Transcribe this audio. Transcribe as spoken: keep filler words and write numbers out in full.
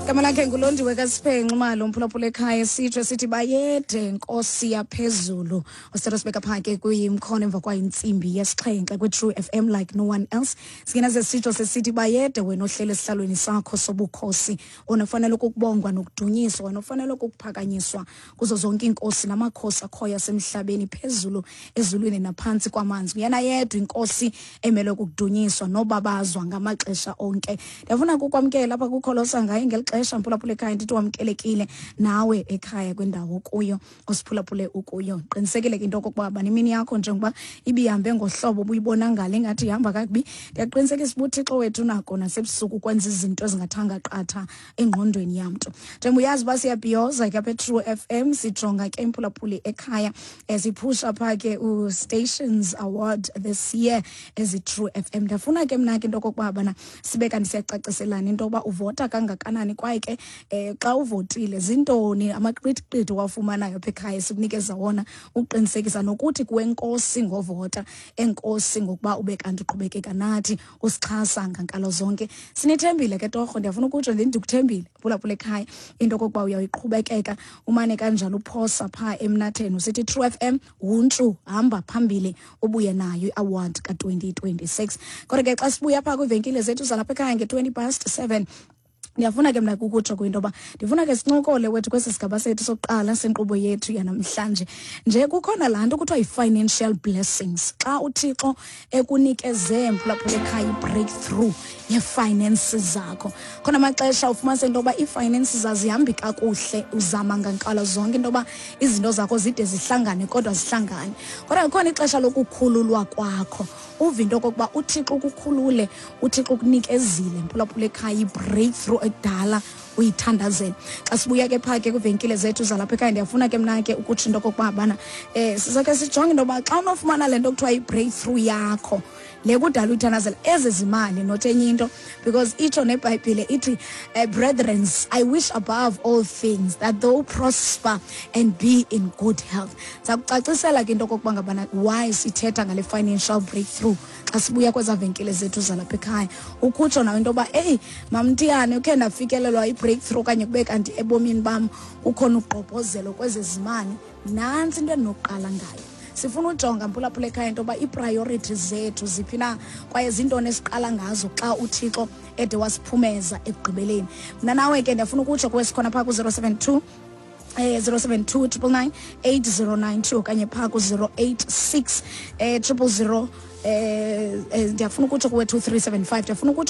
Igama lakhe nguLondiwe kaSiphenxe Malo, mphulaphula ekhaya. Sitsho sithi bayede, Nkosi yaphezulu. Osithatha sibeka phaa ke kwimkhono emva kwayo intsimbi yesixhenxe kwi-True F M, like no one else. Singena sesitsho sesithi bayede wena ohlele esihlalweni sakho sobukhosi, wena ufanele ukubongwa nokudunyiswa, wena ufanele ukuphakanyiswa kuzo zonke iinkosi namakhosi akhoyo asemhlabeni, phezulu ezulwini naphantsi kwamanzi. Nguyena yedwa inkosi emele ukudunyiswa nobabazwa ngamaxesha onke. Ndiyafuna kukwamkela apha kukholosa ngaye ngeli xesha, mphulaphula ekhaya. Ndithi wamkelekile nawe ekhaya kwindawo kuyo osiphulaphule ukuyo. Qinisekile ke into okokuba banimini yakho njengoba ibihambe ngohlobo ubuyibona ngale ingathi ihamba kakubi, ndiyaqinisekisa uba uThixo wethu nako nasebusuku kwenza izinto ezingathanga qatha engqondweni yamntu. Njengoba uyazi uba siyabhiyoza ke apha eTrue F M, sijonga ke, mphulaphuli ekhaya, siphusha phaa ke u-Stations Award this year ezi-True F M. Ndiyafuna ke mna ke into okokuba bana sibe kanti siyacaciselana into yokuba uvota kangakanani, kwaye ke um xa uvotile zintoni amaqithiqithi owafumanayo apha ekhaya sikunikeza wona ukuqinisekisa nokuthi kuwenkosi ngovota, enkosi ngokuba ube kanti uqhubekeka nathi usixhasa ngankalo zonke. Sinithembile ke torho. Ndiyafuna ukutsho ndithi ndikuthembile, phulaphula ekhaya, into okokuba uyayiqhubekeka umane kanjalo uphosa phaa emnatheni usithi True F M wuntshu, hamba phambili ubuye nayo i-award ka-twenty twenty-six. Kodwa ke xa sibuya phaa kwiivenkile zethu zalapha ekhaya nge-twenty past seven, ndiyafuna ke mna kukutsho kwinto yoba ndifuna ke sincokole wethu kwesi sigaba sethu sokuqala senkqubo yethu yanamhlanje. Nje kukhona laa nto kuthiwa yi-financial blessings, xa uThixo ekunikeze, mphulaphula ekhaya, i-breakthrough yee-finances zakho. Khona amaxesha ufumanise into yoba ii-finances azihambi kakuhle, uzama ngankalo zonke into yoba izinto zakho zide zihlangane, kodwa zihlangane. Kodwa kukhona ixesha lokukhululwa kwakho, uve into okokuba uThixo ukukhulule, uThixo ukunikezile, mphulaphula ekhaya, i-breakthrough ekudala uyithandazela. Xa sibuya ke phaa ke kwiivenkile zethu zalapha ekhaya, ndiyafuna ke mna ke ukutsho into okokuba bana um sizake sijonge into yoba xa unofumana le nto kuthiwa yi-breakthrough yakho le kudala uyithandazela, ezi zimali, not enye into, because itsho neBhayibhile ithi, uh, "Brethrens, I wish above all things that thou prosper and be in good health." Ndiza kucacisela ke into okokuba ngabana why sithetha ngale financial breakthrough xa sibuya kwezaa venkile zethu zalapha ekhaya. Ukutsho nawe into yoba eyi, mamntiyane, ukhe ndafikelelwa i-breakthrough okanye kube kanti ebomini bam kukhona ugqobhozelo kwezezimali, nantsi into endinokuqala ngayo. Sifuna ujonga, mphulaphula ekhaya, into yoba ii-priorities zethu ziphi na, kwaye zintoni esiqala ngazo xa uThixo ede wasiphumeza ekugqibeleni. Mna nawe ke ndiyafuna ukutsho kuwe, sikhona phaa ku-zero seven two eh zero seven two nine nine nine eight zero nine two okanye phaa ku-zero eight six eh zero zero zero eh eh, ndiyafuna ukutsho kuwe two three seven five. Ndiyafuna ukutsho.